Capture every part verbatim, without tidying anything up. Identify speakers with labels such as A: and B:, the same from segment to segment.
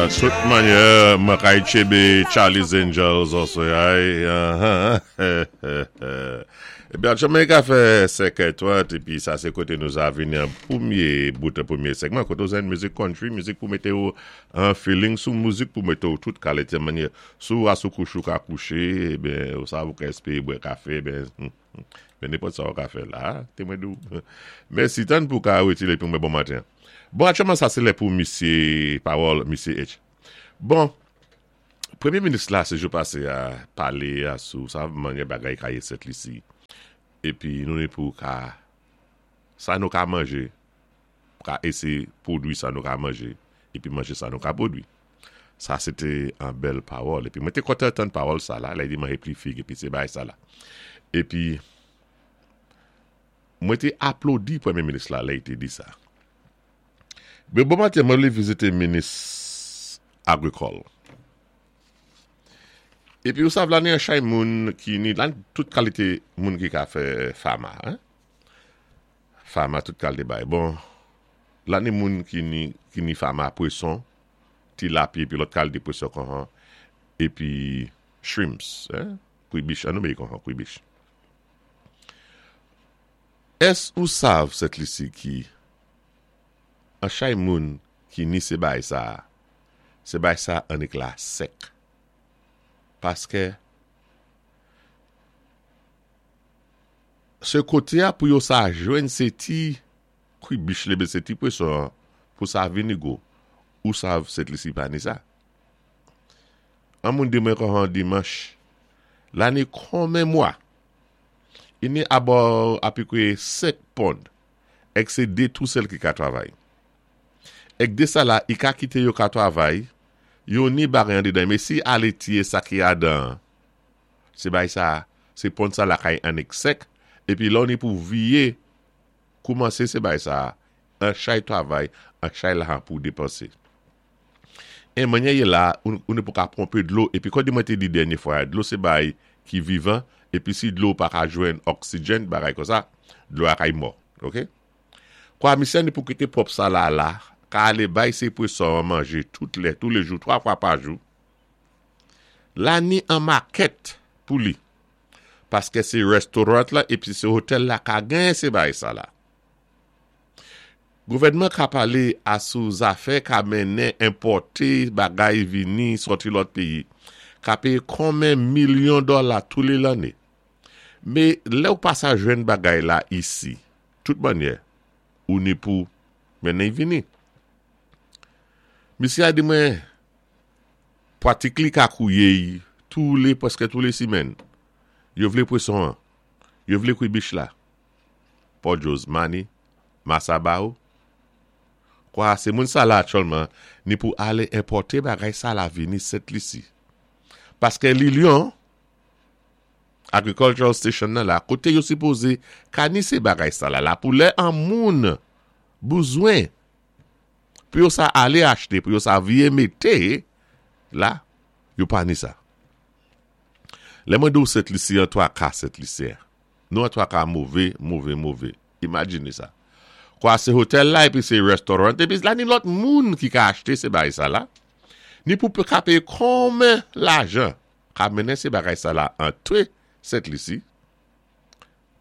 A: Tout mannyè, mwen kay tchébé Charlie's Angels also, ay, uh-huh. Ebyen, Jamaica fè senkè trant, épi sa sé koté nou sa vini an pwémyé bout, pwémyé segman, koté ou zenn mizik country, mizik pou mété ou an feeling sou mizik pou mété ou tout kalité mannyè, sou asou kouchou ka kouché, ebyen, ou sa ou ka espéyé bwè kafé, ebyen, ben nenpòt sa ou ka fè la, té mwen dou. Mèsi tann pou ka wétilé pou mwen bon maten. Bon, aktyèlman sa sé lè pou misyé pawòl, misyé H. Bon, Pwémyé minis la, sé jou pasé a palé a sou sa mannyè bagay ka yé Sent Lisi. Épi nou ni pou ka sa nou ka manjé, ka éséyé pwodwi sa nou ka manjé, épi manjé sa nou ka pwodwi. Sa sé té an bèl pawòl. Épi mwen té kontan tann pawòl sa la, lè i di manjé pli fig, épi sé bay sa la. Épi, mwen té aplodi pwémyé minis la, lè i té di sa. Bé bon maten, mwen vlé vizité minis agrikòl. Épi ou sav la ni an chay moun ki ni, lan tout kalité moun ki ka fè fama, hein? Fama tout kalité bay. Bon, la ni moun ki ni, ki ni fama pwéson, tilapi, épi lòt kalité pwéson kon épi shrimps, hein? Kwibich, an nou méy kon kwibich. Ès ou sav Sent Lisi ki an chay moun ki ni sé bay sa, sé bay sa annik la sèk. Paské sé koté a pou yo sa jwenn sé ti kwibich lé sé ti pwéson pou sa vini gwo. Ou sav Sent Lisi pa ni sa. An moun di mwen kon an dimanch, la ni konmen mwa, i ni abò apikwe senk pond, èk sé dé tou sèl ki ka twavay. Èk dé sa la, i ka kité yo ka twavay, yo ni bagay an dédan, mé si alé tiyé sa ki adan, sé bay sa, sé pond sa la kay annik sèk, épi lò ni pou viyé, koumansé sé bay sa, an chay twavay, an chay lajan pou dépansé. É mannyè yé la, ou, ou ni pou ka ponpé dlo, épi kon di mwen té di dènyé fwa, dlo sé bay ki vivan, épi si dlo pa ka jwenn oksijèn, bagay kon sa, dlo a kay mò, ok? Kwa misyé ni pou kité pwòp sa la la, ka alé bay sé pwéson an manjé tout lè, tous les jours, twa fwa pa jou. La ni an makèt pou li. Paské sé restoran la, épi sé otèl la ka gen sé bay sa la. Gouvèdman ka palé a sou zafè ka mennen enpòté bagay vini sòti lòt péyi. Ka péyé konmen milyon dola tou lé lanné. Mé lè ou pa sa jwenn bagay la isi, tout mannyè, ou ni pou mennen vini. Misyé a di mwen, pwatik li ka kouye tou lé, pwèské tou lé simèn. Yo vlé pwéson an, yo vlé kwibich la. Pòdjòz mani, masa ba ou. Kwa, sé moun sa la aktyèlman, ni pou alé enpòté bagay sa la vini Sent Lisi. Paské Lilion, Agricultural Station nan la, koté yo sipozé ka ni sé bagay sa la la, pou lè an moun bezwen, pou yo sa alé achté, pou yo sa viyé mété, la, yo pa ni sa. Lè mwen di ou Sent Lisi, an twa ka Sent Lisi. Nou an twa ka mové, mové, mové. Imajiné sa. Kwa sé otèl la, épi sé restoran, épi la ni lòt moun ki ka achté sé bagay sa la, ni pou ka péyé konmen lajan, ka mennen sé bagay sa la antré Sent Lisi.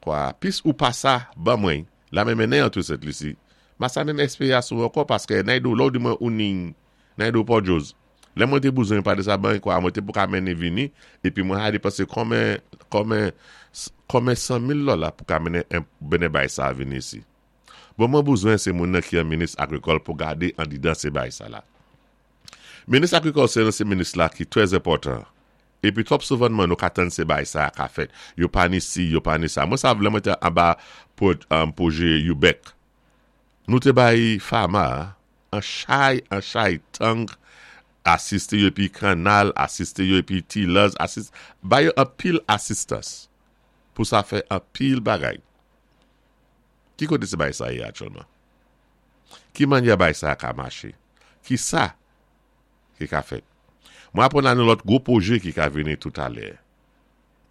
A: Kwa, pis ou pa sa, ban mwen, la men mennen antré Sent Lisi. Ma sa menm espéyé sou ankò, paské nay do, lò di mwen ou ni, nay do Pòdjòz. Lè mwen té bezwen pa de sa ban, kwa mwen té pou ka mennen vini, épi mwen a dépansé konmen, konmen, konmen san mil dola pou ka mennen, mennen bay sa vini isi. Bon, mwen bezwen sé moun nan ki an minis agrikòl pou gadé an didan sé bay sa la. Minis agrikòl sé sé minis la ki trè enpòtan. Épi twòp souvanman nou ka tann sé bay sa ka fèt. Yo pa ni si, yo pa ni sa. Mwen sav lè mwen té anba pou, um, pwojé UBEC. Nou té bay fama, an chay, an chay tank, asisté yo épi kanal, asisté yo épi tillers, asiste, bay yo an pil asistans. Pou sa fè an pil bagay. Ki koté sé bay sa yé aktyèlman? Ki mannyè bay sa ka maché? Ki sa ki ka fèt? Mwen aprann an lòt gwo pwojé ki ka vini tout alè.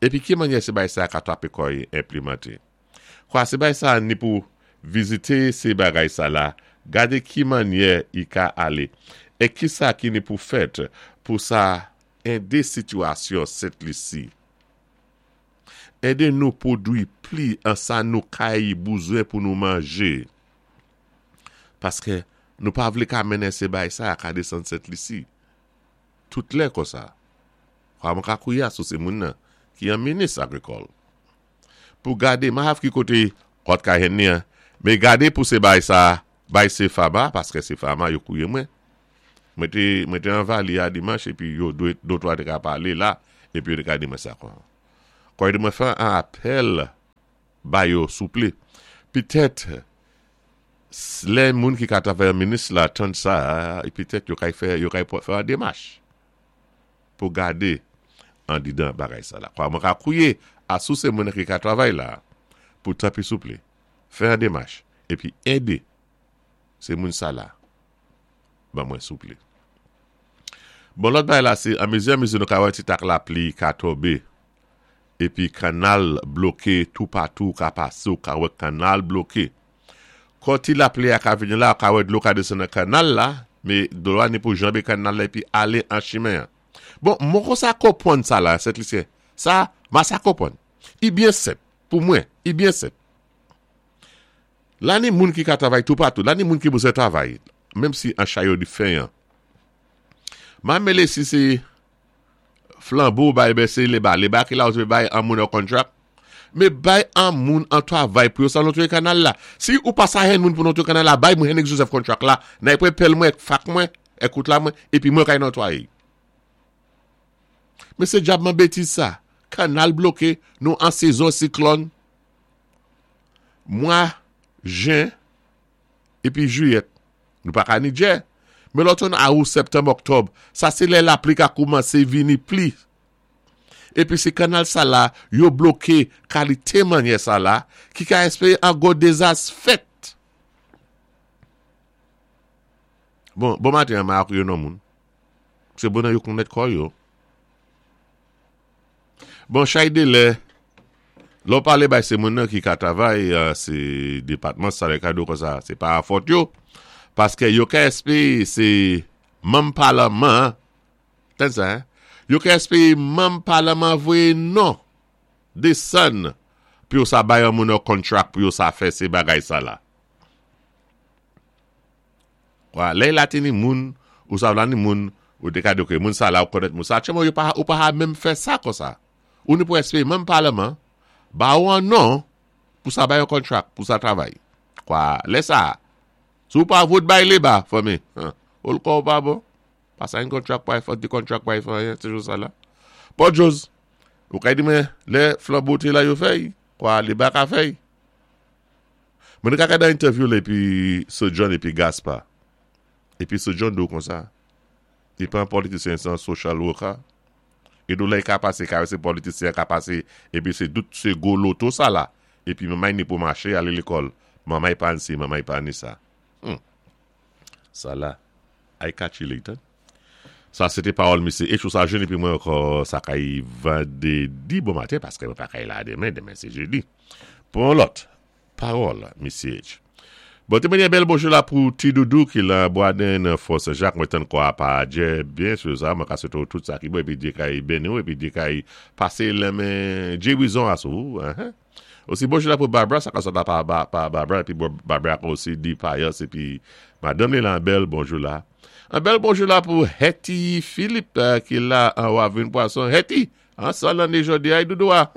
A: Épi ki mannyè sé bay sa ka twapé kòy enplimanté? Kwa sé bay sa ni pou vizité sé bagay sa la, gadé ki mannyè i ka alé. É ki sa ki ni pou fèt pou sa édé sitiyasyon Sent Lisi. Édé nou pwodwi pli an sa nou kay bouzwen pou nou manjé. Paské nou pa vlé ka mennen sé bay sa ka désann Sent Lisi. Tout lè kon sa. Kwa mwen ka kouya sou sé moun nan ki an minis agrikòl. Pou gadé, ma hav ki koté hot ka hen ni an, mé gadé pou sé bay sa, bay sé fama, paské sé fama yo kouye mwen. Mwen té, mwen té an vali a dimanch, épi yo dwé, dotwa té ka palé la, épi yo té ka di mwen sa kon. Kwa yo di mwen fè an apèl ba yo souplé. Pitèt, lè moun ki ka travay minis la tann sa, pitèt yo kay fè, yo kay fè an démach pou gadé an didan bagay sa la. Kwa mwen ka kouye a sou sé moun ki ka travay la, pou tanpi souplé, fè an démach, épi édé sé moun sa la, ban mwen souplé. Bon, lòt bagay la, sé an mezi an mezi nou ka wè ti tak lapli ka tonbé, épi kanal bloké tout patou ka pasé ou ka wè kanal bloké. Kon ti lapli a ka vini la, ka wè dlo ka désann nan kanal la, mé dlo a ni pou janbé kanal la épi alé an chimen. Bon, mwen kon sa konpwann sa la, Sent Lisyen. Sa, ma sa konpwann. I byen senp, pou mwen, i byen senp. La ni moun ki ka travay tout patou, la ni moun ki bezwen travay, menm si an chayo di fen an. Ma mélé si sé Flambeau bay ben sé Leba, Leba ki la ou bay an moun an contract, mé bay an moun an travay pou yo sa notwe kanal la. Si ou pa sa hen moun pou notwe kanal la, bay moun Henrik Joseph contract la, nan epre pel mwen, fak mwen, ekout la mwen, épi mwen kay notwaye. Mé sé djabman bétiz sa. Kanal bloké, nou an sezon siklòn. Mwa, jen, épi jiyèt. Nou pa ka ni djè. Mé lòtonn a out, septanm, oktòb, sa sé lè lapli ka koumansé vini pli. Épi sé kanal sa la, yo bloké kalité manyè sa la, ki ka espéwé an gwo dézas fèt. Bon, bon maten, ma ak yo nan moun. Sé bon yo konnèt kò yo. Bon, chay de lè, lò palé bay sé moun nan ki ka travay, sé dépatman sa lè kado kon sa, sé pa fòt yo. Paské yo ka espéwé sé manm palman, ten sa, hein? Yo ka espéwé manm palman voyé non, désann, pou yo sa bay an moun an contract pou yo sa fè sé bagay sa la. Kwa, lè la teni moun, ou sa vla ni moun, ou te ka di, ok, moun sa la ou konnèt moun sa, tchèman yo pa, ou pa ha menm fè sa kon sa. Ou ni pou espéwé manm palman, ba ou an non, pou sa bay an contract, pou sa travay. Kwa, lè sa, sou pa vote bay Leba, fami, ou l'ko ou pa bon, pa sa yon contract pa yon, di contract pa yon, se jou sa la. Bon, Jos, ou kay di men, lè Flambeau te la yo fèy, kwa, Leba ka fèy. Mwen ka kada interview lè, epi Sir John epi Gaspard. Epi Sir John do kon sa. I pa an politisyen, se an social worker. E do lè ka pase, ka se politisyen ka pase, epi se dout se go loto sa la. Epi mamay ni pou mache, ale l'école. Mamay pa ansi, mamay pa ni sa. Hmm. Sa la, I catch you later. Sa, c'était parole monsieur H. Ou sa jeune, épi mwen ankò, sa kay vendredi bon maten, paské mwen pa kay la demen, demen sé jedi. Pou lòt, parole monsieur H. Bon, té mwen bèl bonjou la pou ti doudou ki la Boisden Fort Saint-Jacques, mwen tann kwa pa djè, byen sûr sa, mwen ka swété tout sa ki bon, épi Djé kay béni ou, épi Djé kay pasé lè men Djé Wizon asou, hein. Osi bonjou la pou Barbara, sa ka sot la pa, pa, pa Barbara, épi Barbara osi di Payas, épi madame li la bèl bonjou la. Un bèl bonjou la pou Hetty Philippe euh, ki la an Wavin Poisson. Hetty, an sa l'année jodi ay doudou a.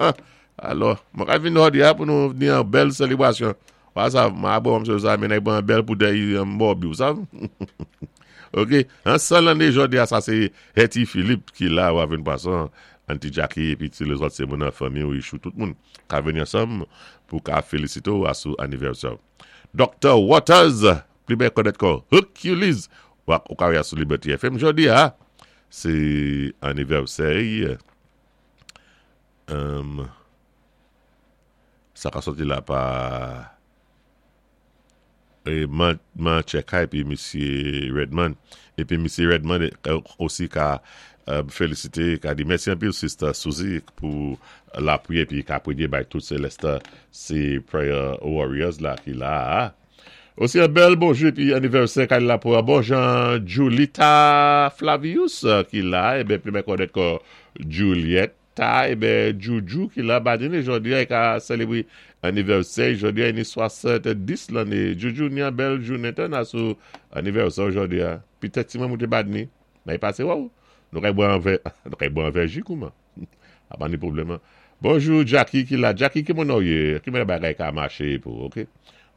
A: Alò, mwen ka vin jodi a pou nou ni an bèl selebrasyon. Wa sa, ma bon mse sa, men ay bon bèl pou dey an morbi, ou sa? Ok, an sa l'année jodi a, sa c'est Hetty Philippe ki la Wavin Poisson, Auntie Jackie, épi tous les autres c'est mon famille ou ichou tout moun ka vini ensemble pou ka féliciter ou à sou anniversaire. Docteur Waters, pli byen konnèt kon Hercules, ou ka wè sou Liberty F M jodi a, c'est anniversaire. Um, sa ka sorti la pa e man, man Cheka épi monsieur Redman. Épi monsieur Redman osi ka euh, félicité, ka di mèsi anpil Sister Suzy pou l'appui épi ka prié bay tout Celeste, sé Prayer Warriors la ki la. Osi yon bèl bonjou épi anivèsè kay la pou bon jan Julita Flavius ki la, ében pli mwen konnèt kon Julietta, ében Juju ki la, badini jòdi a, i ka sélébwé anivèsè, jòdi a, i ni swasant-dis lanné. Juju ni yon bèl jounen tan sou anivèsè jòdi a. Pitèt si mwen mwen té badni, men i pasé waw, nou kay bwè an vè, nou kay bwè an vè ji kouman. A pa ni pwoblèm. Bonjou Jackie ki la. Jackie ki moun nou yé? Ki moun bagay ka maché pou, ok?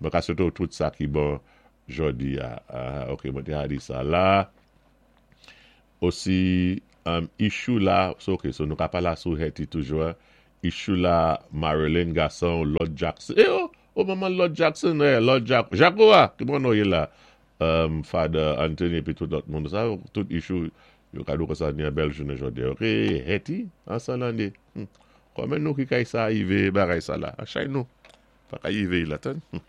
A: Mwen ka swété tout sa ki bon jòdi a. Ah, ok, mwen té a di sa la. Osi, um, Ishou la, so ok, so nou ka pala sou Hetty toujou. Ishou la, Marilyn Gasson, Lord Jackson. Eh oh, oh maman Lord Jackson, eh, Lord Jack, Jacoa, ki moun nou yé la? Um, Father Anthony épi tout lòt moun sa, tout Ishou, yo ka dou kon sa ni yon bèl jounen jòdi. Ok, Hetty, ansan lanné. Hmm. Kòman nou ki kay sa yivé bagay sa la? Achay nou. Pa ka yivé la tan. Hmm.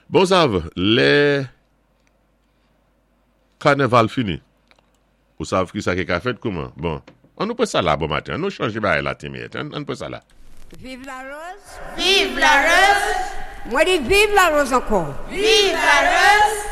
A: Bon sav, lè kanaval fini. Ou sav ki sa ki ka fèt kouman? Bon, an nou pwé sa la bon maten. An nou chanjé bagay la timid. An, an pwé sa la.
B: Viv Larose.
C: Viv Larose.
B: Mwen di viv Larose ankò.
C: Viv Larose.